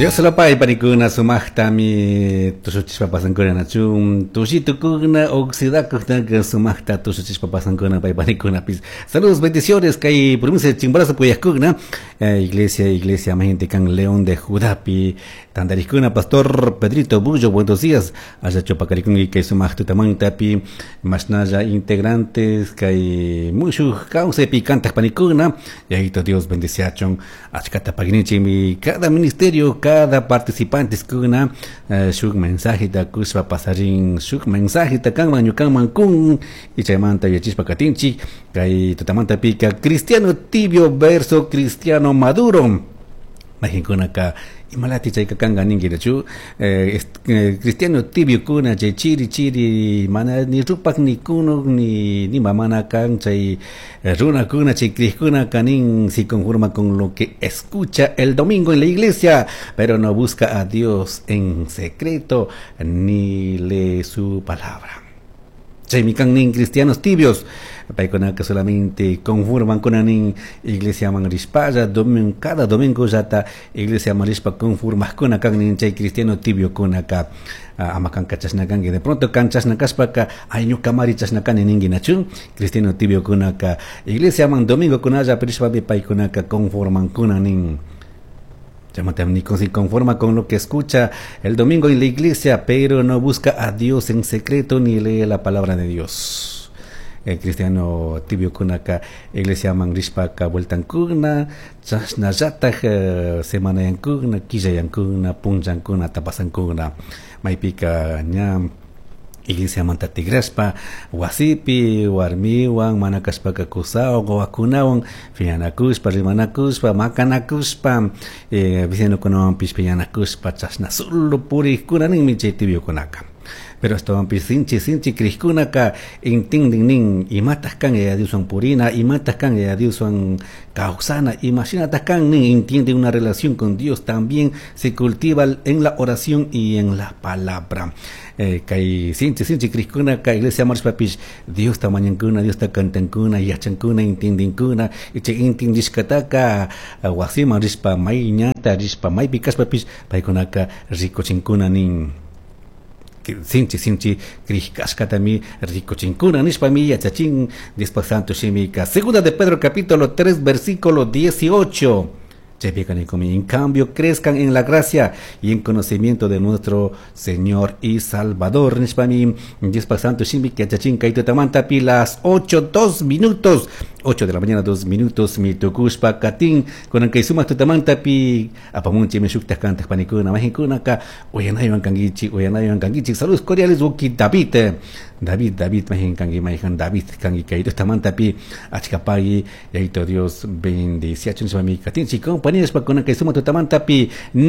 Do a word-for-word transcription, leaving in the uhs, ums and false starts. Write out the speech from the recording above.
Dios lopay panikuna sumaqtami tushuchishpa pasankuna nachun tushitukuna oxidakuqtaka sumaqta tushuchishpa pasankuna pay panikunapis. Saludos, bendiciones kay provincia de Chimborazo puyaqkuna eh, iglesia iglesia gente kan León de Judapi tantarikuna. Pastor Pedrito Bullo, buenos días. Allachu paqarikunki kay sumaq tutamantapi mashnalla integrantes kay mushuq kawsaypi kantaq panikuna. Yayito Dios bendiciachun achkata paginichimi cada ministerio, cada participante kuna eh, shuk mensajeta kushpa pasarin, shuk mensajeta kanman ñukanman kun y chaymanta yachishpa katinchik kay tutamanta pika cristiano tibio versus cristiano maduro. Mayqinkunaka imalati chayka kanka ninkichu eh, eh, cristiano tibio kuna chay chiri chiri mana ni rupak ni kunuk ni ni mamana kan chay eh, runakuna chay crikkuna kanin si conforma con lo que escucha el domingo en la iglesia, pero no busca a Dios en secreto ni lee su palabra. Chaymi kan nin cristianos tibios paykunaka solamente conforman kunanin iglesia man rishpalla domingo, cada domingo llata iglesia man rishpa conformajkuna kan nin chay cristiano tibio kunaka. Ama kanka chashna kanki, de pronto kan chashna kashpaka ay ñukamari chashna kani ninki nachu. Cristiano tibio kunaka iglesia man domingo kunalla rishpami paykunaka conformankuna nin. Nico se conforma con lo que escucha el domingo en la iglesia, pero no busca a Dios en secreto ni lee la palabra de Dios. El cristiano tibio kunaka iglesia man rishpaka vueltankuna, chashnallataj semana yankuna, quilla yankuna, punllankuna, tapasankuna, maypika ña iglesia manta tigrashpa wasipi warmiwan mana kashpaka kusawan wawakunawan piñanakushpa rimanakushpa makanakushpa eh, vecinokunawanpish piñanakushpa chashna solo purikkuna ninmi chay tibiokunaka. Pero ashtawanpish sinchi sinchi crikkunaka intindin nin imataj kan Yaya Dioswan purina, imataj kan Yaya Dioswan kawsana, imashinataj kan nin. Entiende una relación con Dios también se cultiva en la oración y en la palabra. eh, kay sinchi sinchi crikkunaka iglesia marishpapish Diosta mañankuna, Diosta cantankuna, yachankuna, intindinkuna y chay intindishkataka wasiman rishpa may ñata rishpa maypi kashpapish paykunaka rikuchinkuna nin. Sinchi sinchi crishkashkatami rikuchinkuna nishpami yachachin Diospak Santo Shimika. Segunda de Pedro capítulo tres versículo dieciocho. En cambio, crezcan en la gracia y en conocimiento de nuestro Señor y Salvador. Nishpami Diospak Santo Shimika yachachin kay tutamantapi las ocho dos minutos. ocho de la mañana, dos minutos, mi tukushpa katin, kunan kay sumak tutamantapi, apamunchi mi shuktaj kantaj panikuna, mayqinkunaka, uyanaywan kankichik, uyanaywan kankichik. Saludos cordiales, Wuki David, David, David, mayqin kanki, mayqin David, kanki kay tutamantapi, achkapagi, Yayito Dios, bendiciachun, nishpami katinchik, compañeros, kunan kay sumak tutamantapi.